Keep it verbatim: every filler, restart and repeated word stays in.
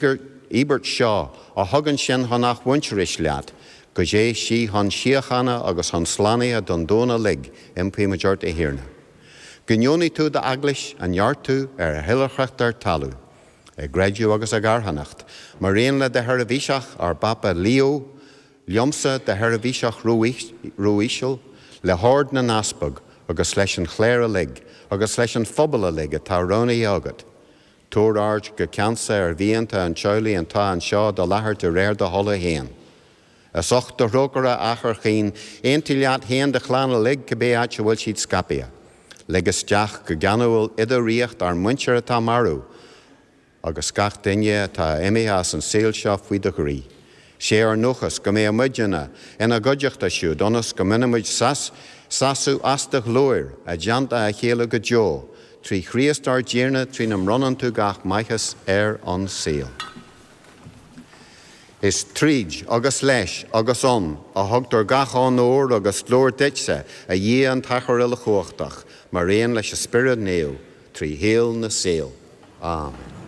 Íobairt seo a thugann sinn chun athmhuintearais leat, go dté sí chun síochána agus chun slánaithe don domhan uilig, impímid ort, a Thiarna. Go ndeonaí tú d'eaglais a neartú ar a hoilithreacht ar talamh, i gcreideamh agus i gcarthanacht, mar aon le do sheirbhíseach ár bPápa Leo, liomsa do sheirbhíseach ró-íseal, le hord na n-easpag agus leis an chléir uilig agus leis an phobal uilig atá roghnaithe agat. Tabhair aird go ceansa ar mhianta an teaghlaigh atá anseo i do láthair de réir do thola féin. As ucht do thrócaire, a Athair chaoin, aontaigh leat féin do chlann uilig cibé áit a bhfuil siad scaipthe. Lig isteach go geanúil i do ríocht ár muintir atá marbh, agus gach duine atá imithe as an saol seo faoi do ghroí. Sé ár ndóchas go mbeidh muidne ina gcuideachta siúd ionas go mbainfimid sásamh as do ghlóir i dteannta a chéile go deo, trí Chríost ár dTiarna trína mbronnann tú gach maitheas ar an saol. Is tríd agus leis agus ann a thugtar gach onóir agus glóir duitse, a Dhia an tAthair uilechumhachtach, mar aon leis an Spiorad Naomh, trí shaol na saol. Amen.